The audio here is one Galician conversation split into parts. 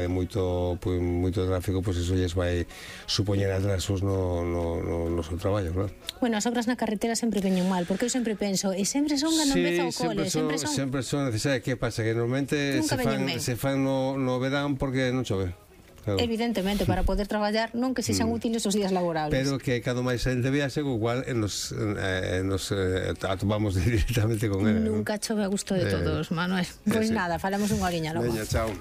moito tráfico, pois iso lles vai supoñer atrasos no seu traballo, claro. Bueno, as obras na carretera sempre veñen mal, porque eu sempre penso, e sempre son cando empeza o cole, sempre son necesarias. Que pasa? Que normalmente se fan no verán porque non chove. Claro. Evidentemente, para poder traballar non que sexan útiles os días laborables. Pero que cando máis xente viaxe, igual nos atopamos directamente con ele. Nunca chove a gusto de todos, Manuel. Pois nada, falamos unha horiña logo. Veña, chao.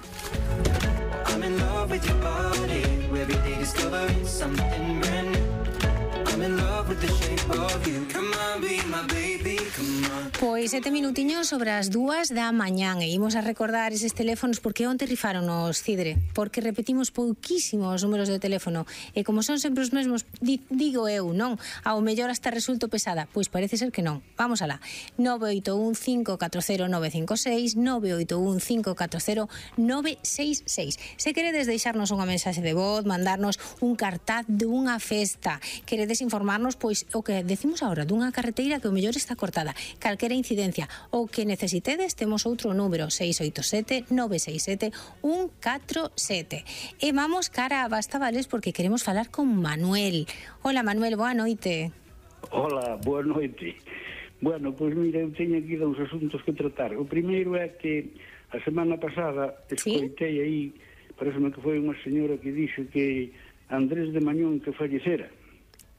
I'm in love with your body. Every day discovering something brand new. I'm in love with the shape of you. Come on, be my baby, come on. Pois 7 minutiños sobre as 2 da mañán e imos a recordar eses teléfonos porque onte rifaronos, Cidre, porque repetimos pouquísimos números de teléfono e como son sempre os mesmos, digo eu, non? Ao mellor hasta resulto pesada, pois parece ser que non. Vamos alá. 981-540-956, 981-540-966. Se queredes deixarnos unha mensaxe de voz, mandarnos un cartaz dunha festa, queredes informarnos, pois o que decimos agora, dunha carreteira que o mellor está cortada, calquera incidencia, o que necesitedes, temos outro número, 687-967-147. E vamos cara a Bastavales porque queremos falar con Manuel. Hola, Manuel, boa noite. Hola, boa noite. Bueno, pois mira, eu teño aquí dous asuntos que tratar. O primeiro é que a semana pasada escoitei aí, pareceme que foi unha señora que dixo que Andrés de Mañón que fallecera.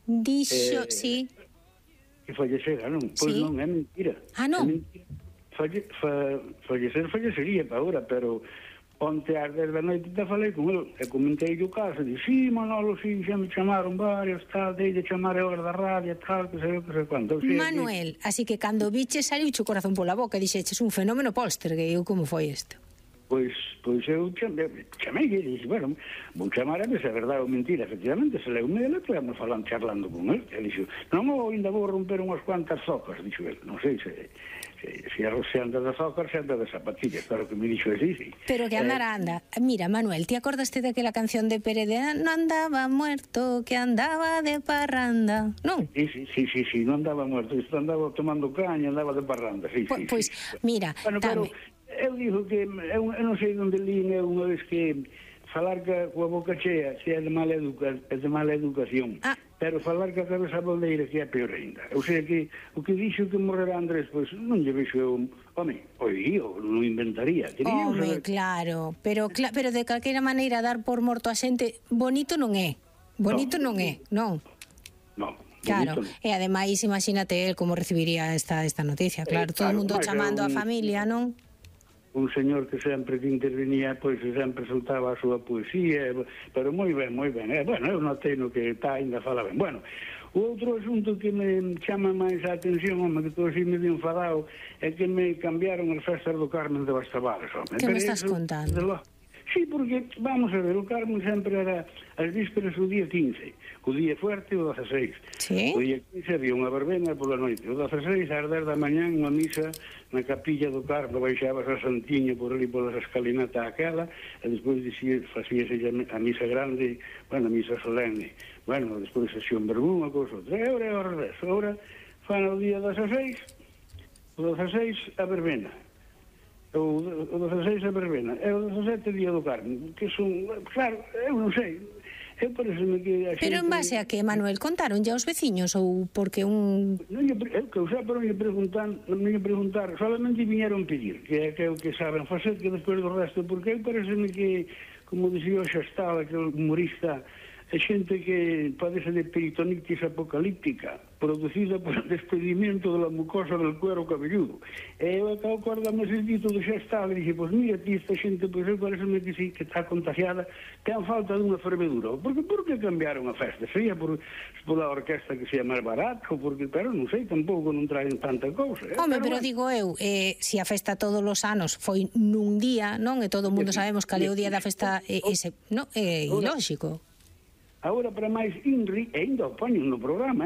Dixo, sí. Que fallecera, non? Pois non, é mentira. Ah, non? É mentira. Fallecería para agora, pero onte ás 10 da noite te falei con ele e comentei o caso, dixo, sí, Manolo, sí, xa me chamaron varios, tal, de chamar a hora da radio, tal, que sei quanto. Manuel, así que cando biches saliu o corazón pola boca e dixeches un fenómeno poltergeist, como foi isto? Pois eu chamei e dixo, bueno, vou chamar a ver se é verdade ou mentira. Efectivamente, se leu me ele, estivemos charlando con ele. E dixo, non, ainda vou romper unhas cuantas zocas, dixo ele. Non sei se anda de zocas, se anda de zapatillas, claro que me dixo así, sí. Pero que anda. Mira, Manuel, ¿te acordaste daquela canción de Pérez de no andaba muerto, que andaba de parranda? Non? Sí, non andaba muerto, andaba tomando caña, andaba de parranda, sí. Pois, mira, bueno, eu digo que eu non sei onde li unha vez que falar coa boca chea se é de mala educación, pero falar coa cabeza boldeira que é peor ainda. O sea que o que dixo que morrerá Andrés, pois non lle vexo eu, non inventaría. Claro, pero de calquera maneira dar por morto a xente bonito non é. Non. Claro, e ademais imagínate el como recibiría esta noticia, claro, todo o mundo chamando a familia, non? Un señor que sempre que intervenía, pois sempre soltaba a súa poesía, pero moi ben. Bueno, eu notei no que ainda fala ben. Bueno, o outro asunto que me chama máis a atención, que estou así medio enfadado, é que me cambiaron as festas do Carmen de Bastavales. Que me estás contando? Sí, porque, vamos a ver, o Carmen sempre era as vísperas o día 15, o día fuerte o 16. Sí? O día 15 había unha verbena pola noite, o 16 ás 10 da mañán unha misa na capilla do Carmen, baixabas a Santiño por ali polas escalinata aquela, e despois facíase a misa grande, a misa solene. Despois así un verbún, a cousa outra. E ora 10, ora fan o día 16, o 16 a verbena. O 16 a verbena, e o 17 día do Carmen, que son, claro, eu non sei, eu pareceme que a xente... Pero en base a que, Manuel, contaron ya os veciños ou porque un... Eu que usaba para me preguntar, solamente viñeron pedir, que é o que saben facer, que despois do resto, porque eu pareceme que, como dixía o Xastal, aquele humorista, é xente que padece de peritonitis apocalíptica, producida por el despedimento de la mucosa del cuero cabelludo. E eu acabo acordame ese dito do Xastal e dixe, pois mira, ti esta xente, pois eu pareceme que sí, que está contagiada, ten falta dunha fervedura. Por que cambiaron a festa? Sería pola orquesta que sea máis barato, pero non sei, tampouco non traen tanta cousa. Pero digo eu, se a festa todos os anos foi nun día, non? E todo o mundo sabemos que é o día da festa, non? É ilóxico. Agora, para máis INRI, e ainda o poñen no programa,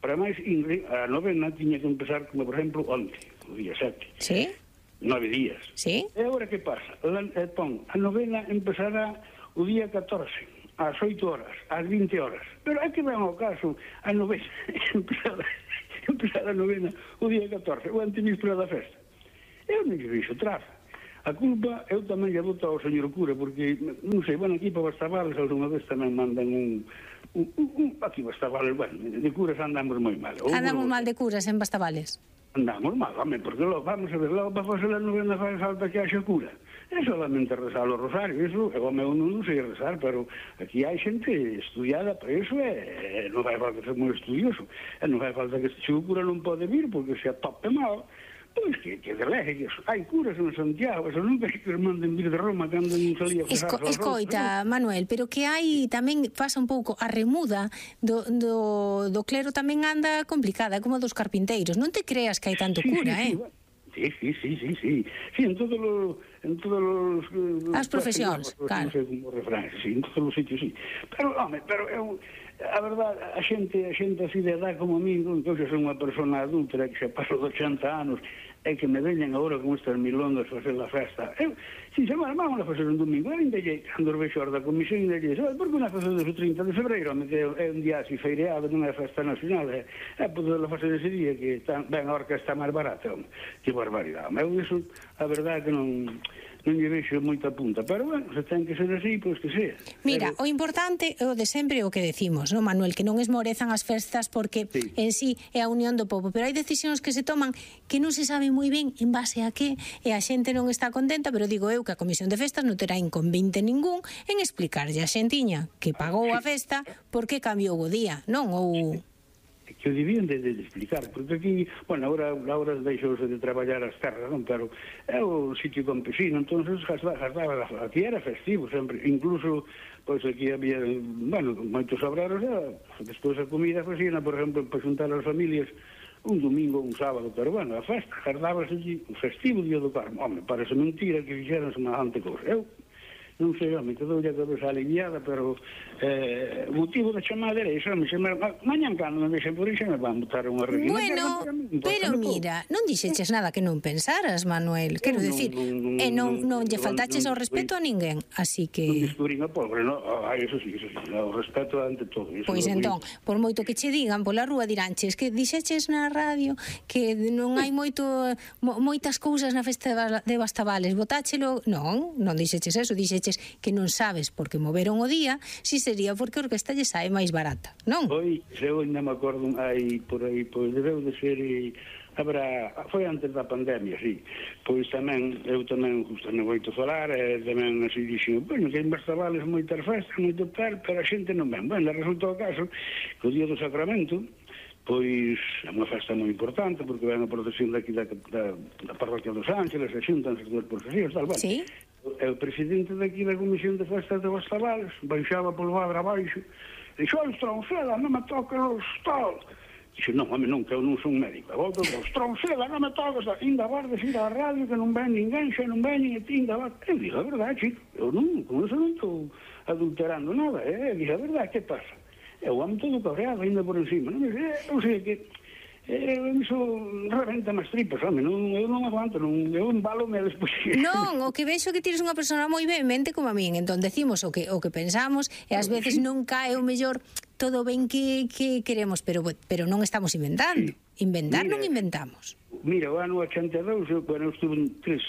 para máis INRI, a novena tiña que empezar, como por exemplo, onte, o día 7. Sí? 9 días. Sí? E agora que pasa? A novena empezará o día 14, ás 8 horas, ás 20 horas. Pero é que ven ao caso, a novena, empezar a novena o día 14, o antevíspera da festa. Eu non lle vixo traza. A culpa eu tamén lle boto ao señor cura, porque, non sei, bueno, aquí para Bastavales alguna vez tamén mandan aquí Bastavales, bueno, de curas andamos moi mal. Andamos mal de curas en Bastavales. Andamos mal, home, porque vamos a ver, logo para fazer a novena faz falta que haxa cura. É solamente rezar o rosario, eso, home, eu non sei rezar, pero aquí hai xente estudiada para eso, non fai falta ser moi estudioso, non fai falta que se o cura non pode vir, porque se atope mal, pois que delegue, hai curas en Santiago, eso nunca que os manden vir de Roma cando non salía a pasar. Escoita, Manuel, pero que hai tamén pasa un pouco a remuda do clero tamén anda complicada, como dos carpinteiros. Non te creas que hai tanto cura, Sí, en todos os as profesións, claro. Non sei como refrán, sí, en todos os sitios, sí. Pero, home, eu a verdade, a xente así de edad como a mí, que eu xa son unha persona adulta que xa paso de 80 anos, é que me veñen agora con estas milongas a facer a festa. Eu, si se vamos a facer un domingo, eu ainda lle, cando vexo a da comisión, ainda lle dixe, por que non a facer o 30 de febreiro, é un día así feireado, non é festa nacional, é poder facer ese día, que ben a orquesta máis barata, que barbaridade. Eu iso, a verdade, que non lle vexo moita punta, pero, bueno, se ten que ser así, pois que sea. Mira, o importante é o de sempre o que decimos, non, Manuel, que non esmorezan as festas porque en sí é a unión do povo, pero hai decisións que se toman que non se sabe moi ben en base a que, e a xente non está contenta, pero digo eu que a Comisión de Festas non terá inconvinte ningún en explicarlle a xentiña que pagou a festa por que cambiou o día, non? Ou que o debían de explicar, porque aquí, bueno, agora deixouse de traballar as terras, non? Pero é o sitio campesino, entonces gastaba, aquí era festivo sempre, incluso, pois aquí había, bueno, moitos obreros, despois a comida facían, por exemplo, para xuntar as familias un domingo ou un sábado, pero bueno, a festa gardábase allí, o festivo día do Carmo. Home, parece mentira que fixeran semejante cousa. Eu non sei, home, que doulle a cabeza aliviada, pero o motivo da chamada era iso, mañan cando me vexen por iso me van botar unha reguina. Bueno, pero mira, non dixeches nada que non pensaras, Manuel, quero dicir, e non lle faltaches ao respeto a ninguén, así que non descubrín a pobre, non? Eso sí, o respeto ante todo. Pois entón, por moito que che digan pola rúa diránches que dixeches na radio que non hai moitas cousas na festa de Bastavales, botáchelo, non dixeches eso, dixeches que non sabes porque moveron o día, si sería porque a orquesta lle sae máis barata, non? Pois, eu ainda me acordo, por aí, pois debeu de ser, foi antes da pandemia, sí. Pois tamén, eu tamén, justo non vou falar, tamén así dixo, bueno, que en Bastavales moitas festas, moito tal, pero a xente non ven. Bueno, resultou o caso que o día do Sacramento, pois é unha festa moi importante, porque ven a procesión daqui da parroquia dos Ángeles, e xuntanse as duas procesións, tal, bueno. Sí. O presidente daqui da Comisión de Festas de Bastavales baixaba polo adro abaixo e dixo, Estronceda, non me toques os tal. Dixo, non, home, non, que eu non son médico. A volta, Estronceda, non me toques, ainda vardes ir á radio que non ven ninguén, xa non ven e ti ainda vardes. Eu digo, a verdade, chico, eu non, con eso non estou adulterando nada, digo, a verdade, que pasa? Eu amo todo cabreado, ainda por encima, non? Eu sei que iso reventa máis tripas, home, eu non aguanto, eu embalo-me despois. Non, o que vexo que tires unha persona moi vehemente como a min, entón decimos o que pensamos e ás veces non cae o mellor todo ben que queremos, pero non estamos inventando. Inventar non inventamos. Mira, o ano 82, eu estuve tres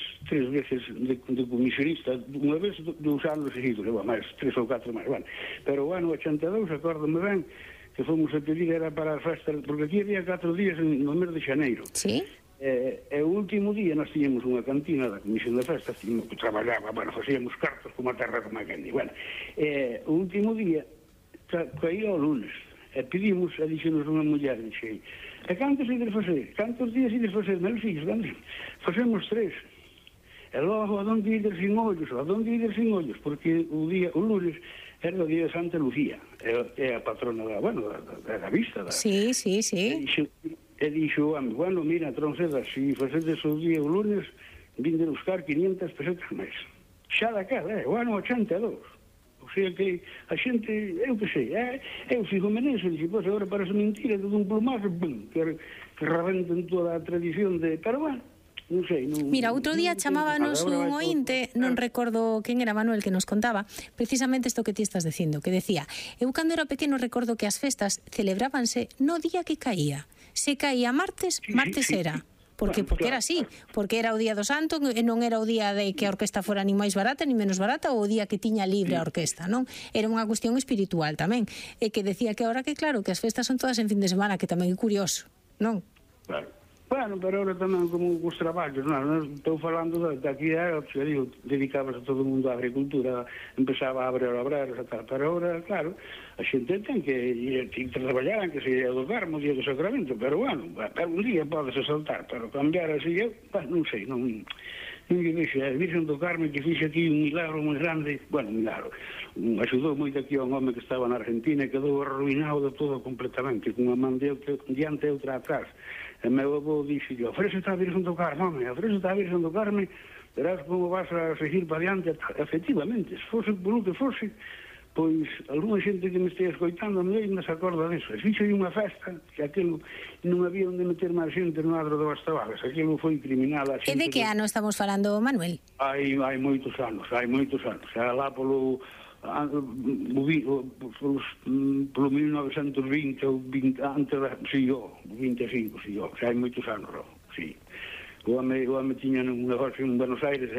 veces de comisionista, unha vez 2 anos seguidos, máis 3 ou 4 máis, bueno. Pero o ano 82, acórdame ben, que fomos a pedir era para a festa, porque aquí había 4 días no mes de xaneiro. Sí. E o último día nós tiñamos unha cantina da Comisión de Festas, que traballaba, bueno, facíamos cartos como a terra como a Kendi. Bueno, o último día caía o lunes, e pedimos, e dixenos unha muller, dixe, e cantos ides facer? Cantos días ides facer? Meus filhos, facemos 3. E logo, a donde ides sin ollos, porque o lunes era o día de Santa Lucía, é a patrona da vista. Sí. E dixo, bueno, mira, Tronceda, se facedes o día o lunes, vinde buscar 500 pesetas máis. Xa daquela, o ano 82. O sea que a xente, eu que sei, eu fico meneso, dixo, pois agora parece mentira, todo un plumazo, que rebenten toda a tradición de... Pero bueno, non sei, non... Mira, outro día chamábanos un ointe, non recordo quen era, Manuel, que nos contaba precisamente isto que ti estás dicindo, que decía, eu cando era pequeno recordo que as festas celebrábanse no día que caía. Se caía martes, martes era. Porque era así, porque era o día do santo e non era o día de que a orquesta fora ni máis barata ni menos barata, ou o día que tiña libre a orquesta, non? Era unha cuestión espiritual tamén, e que decía que ahora que claro, que as festas son todas en fin de semana, que tamén é curioso, non? Claro. Bueno, pero ahora tamén como os traballos, non estou falando de aquí xa digo, dedicabas a todo o mundo á agricultura, empezaba a abrir obreros e tal, pero ahora, claro, a xente ten que traballar, que se ir do Carmo, día do Sacramento, pero bueno, un día podes saltar, pero cambiar así, eu, non sei, non lle vexo, a Virgen do Carmo que fixe aquí un milagro moi grande, bueno, un milagro, axudou moito aquí a un home que estaba na Argentina e quedou arruinado de todo completamente, con unha man diante e outra atrás. E meu avó dixe, ofrécete a Virgen do Carmo, home, ofrécete a Virgen do Carmo, verás como vas a seguir para diante. Efectivamente, se fose por o que fose, pois, alguna xente que me estea escoitando me se acorda disso. E fixe unha festa, que aquilo non había onde meter máis xente no adro de Bastavales, aquilo foi criminal. E de que ano estamos falando, Manuel? Hai moitos anos, xa lá polo 1920 ou 20, antes da, si, 25, si, xa hai moitos anos, si. O home tiña un negocio en Buenos Aires,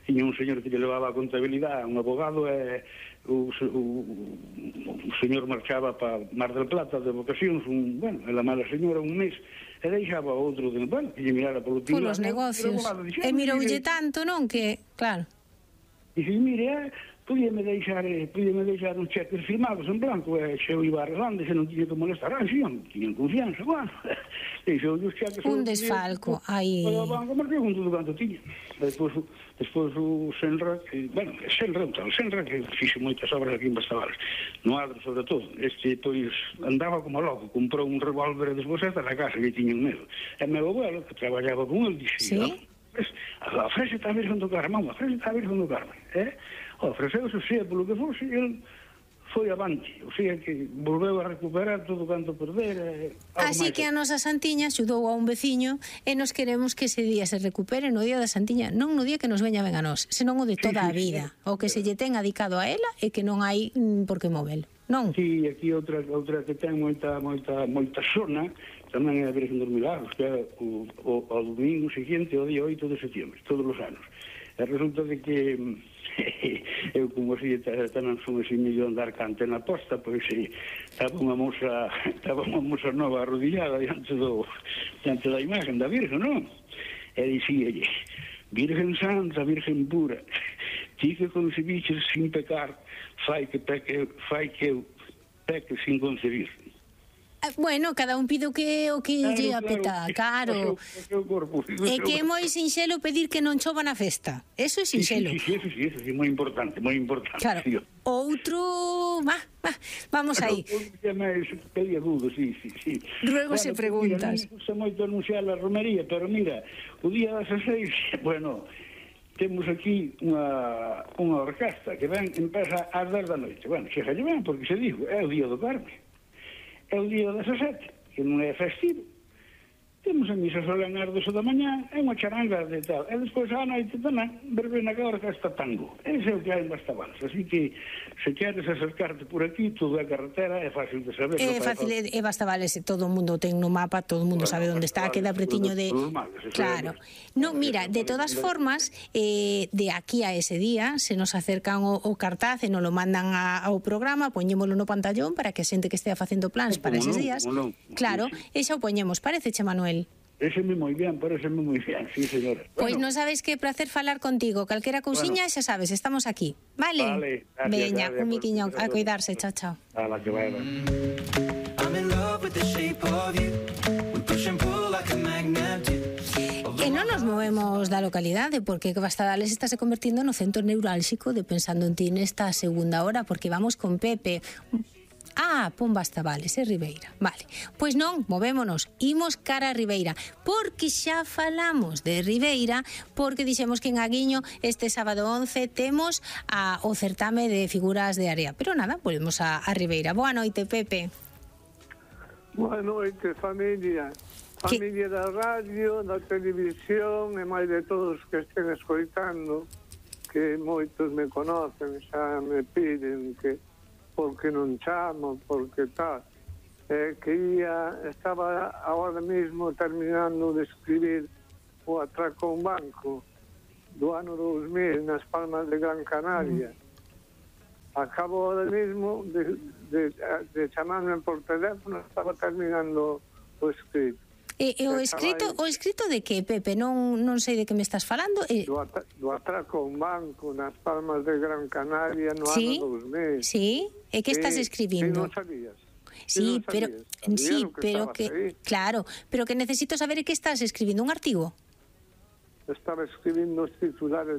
tiña un señor que lle levaba a contabilidade, un abogado, e o señor marchaba para Mar del Plata de vocacións, ela mala señora un mes, e deixaba outro, que lle mirara polo tío. Polos negocios. E miroulle tanto, non, que, claro. Dixe, mire, podíame deixar uns cheques firmados en blanco, e xe eu iba arreglando, se non tiña que molestar, non tiñan confianza, bueno, deixou os cheques... Un desfalco, aí... O banco me pregunto do canto tiña. Despois o Senra, que fixe moitas obras aquí en Bastavales, no adro sobre todo, pois, andaba como loco, comprou un revólver e despois hasta na casa, que tiñan medo. E meu abuelo, que traballaba con el, dixe, ofrécete a Virgen do Carmo, ofrécete a Virgen do Carmo, ofreceuse, sea polo que fose, ele foi avante, o sea que volveu a recuperar todo canto perder. Así que a nosa Santiña axudou a un veciño e nos queremos que ese día se recupere no día da Santiña, non no día que nos veña ben a nós, senón o de toda a vida, o que se lle ten adicado a ela e que non hai por que movelo, non? Sí, aquí outra que ten moita zona, tamén é a Virgen dos Milagros, que é o domingo seguinte, o día 8 de setembro, todos os anos. E resulta de que eu, como así tamén son así medio andar cante na posta, pois estaba unha moza nova arrodillada diante da imagen da Virgen, non? E dicíalle, Virgen Santa, Virgen pura, ti que concebiches sin pecar, fai que eu peque sin concebir. Bueno, cada un pide o que lle apeta, claro. E que é moi sinxelo pedir que non chova na festa. Eso é sinxelo. Sí, eso é moi importante, moi importante. Claro. Outro, vamos aí. Pedía dudo, sí. Luego se preguntas. Me gusta moito anunciar a romería, pero mira, o día 16, bueno, temos aquí unha orquesta que empeza ás 10 da noite. Bueno, chega ben, porque se digo, é o día do Carme. É o día 17, que non é festivo. Temos a misa solene ás 12 da mañá, é unha charanga de tal. E despois á noite tamén, verbena que a orquesta tango. Ese é o que hai en Bastavales. Así que, se queres acercarte por aquí, todo é carretera, é fácil de saber. É fácil, é Bastavales, todo o mundo ten no mapa, todo o mundo sabe onde está, queda pretiño de... Claro. Non, mira, de todas formas, de aquí a ese día, se nos acercan o cartaz e nos lo mandan ao programa, poñémolo no pantallón para que a xente que estea facendo plans para eses días. Claro, e xa o poñemos, pareceche, Manuel? Pareceme moi ben, sí, señora. Pois non sabes que prazer falar contigo. Calquera cousiña, xa sabes, estamos aquí. Vale, veña, un miquiño a cuidarse, chao. Ala, que vai. I'm in love with the shape of you. We push and pull like a magnet do. E non nos movemos da localidade, porque Bastavales está se convertindo no centro neurálxico de Pensando en Ti nesta segunda hora, porque vamos con Pepe. Pon Bastavales, Ribeira. Vale, pois non, movémonos, imos cara a Ribeira, porque xa falamos de Ribeira, porque dixemos que en Aguiño este sábado 11 temos o certame de figuras de área. Pero nada, volvemos a Ribeira. Boa noite, Pepe. Boa noite, familia. Familia da radio, da televisión e máis de todos que estén escoitando, que moitos me conocen, xa me piden que porque non chamo, porque tal. estaba ahora mismo terminando de escribir o atraco a un banco do ano 2000 nas Palmas de Gran Canaria. Acabo ahora mismo de chamarme por teléfono, estaba terminando o escrito. O escrito de que, Pepe? Non sei de que me estás falando. Do atraco a un banco nas Palmas de Gran Canaria no ano 2000. Sí, e que estás escribindo? Non sabías. Sí, pero que claro, pero que necesito saber que estás escribindo un artigo. Estaba escribindo os titulares